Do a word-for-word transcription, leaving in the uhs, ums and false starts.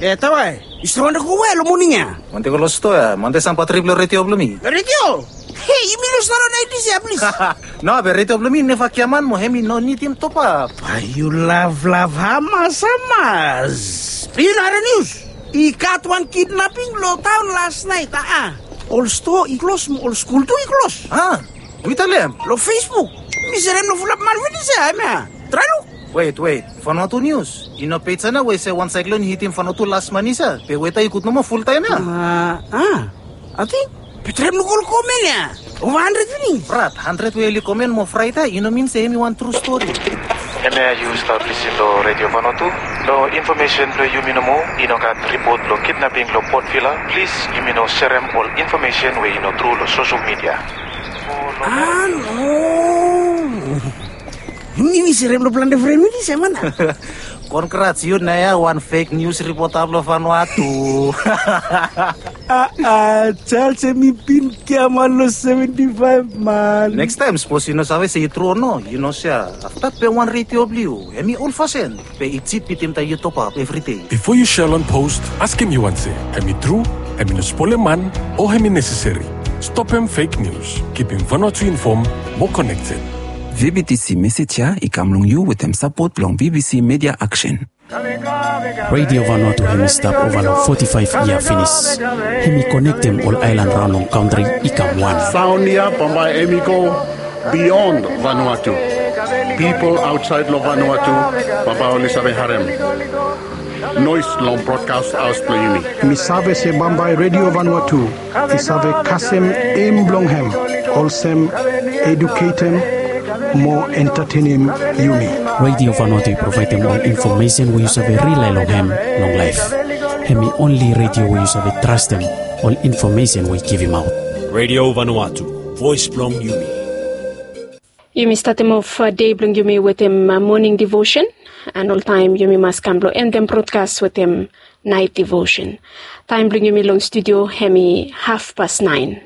E tawae, yu stap wantem go we long moning ya? Wantem go long stoa ya, wantem sampa trip long redio blong mi. Redio? Hei, yumi no stap long naentis ya, plis. No, be redio blong mi neva giaman mo hemi no nidim topap. Bae yu lavlav hamas hamas. Yu no harem nius? I gat wan kidnaping long taon las naet, a. Ol stoa i klos mo ol skul tu i klos. A, yu talem? Long Facebook. Mi serem long fulap man finis ya, hemia. Trae luk. Wet, wet. Vanuatu nius. I no pej ya nao we i se wan saeklon i hitim Vanuatu las manis ya. Be weta i gud nomo fultaem ya. A, a. Ating. Be traem luk ol komen ya. Ova handred finis. Brat, handred we oli komen mo fraet ya, i no min se hemi wan tru stori. Hemia yu stap lisin long Redio Vanuatu. Long infomesen blong yumi nomo, i no gat ripot blong kidnaping long Port Vila. Plis, yumi no serem ol infomesen we i no tru long sosel midia. A, no. Mi, mi serem long plante fren mi se man. Kongrats, yu nao ya wan fek nius ripota blong Vanuatu. A, a, Charles, hemi bin giaman long seventi faef, man. Nekstaem, sapos yu no save se i tru o no, yu no sea. Afta pem wan redio blong yu, hemi olfasen. Be i jip bitim taem yu topap evri dei. Bifo yu sea long post, askem yu wan se, hemi tru, hemi no spolem man, o hemi neseseri. Stopem fek nius. Kipim Vanuatu infom mo konekted. VBTC mesej ya i kam long yu wetem sapot blong VBC Media Action. Redio Vanuatu hemi stap ova long foti faef yia finis. Hemi konektem ol aelan raon long kantri i kam wan. Saon ya bambae hemi go bion Vanuatu. Pipol aotsaed long Vanuatu bambae oli save harem noes long brodkas haos blong yumi. Mi save se bambae Redio Vanuatu i save kasem em blong hem, olsem eduketem mo entatenem yumi. Redio Vanuatu i provaedem ol infomesen we yu save rilae long hem long laef. Hemi onli redio we yu save trastem ol infomesen we i givimaot. Redio Vanuatu, voes blong yumi. Yumi statem of dei blong yumi wetem moning divosen, and oltaem yumi mas kam blong endem brodkas wetem naet divosen. Taem blong yumi long studio hemi hafpas naen.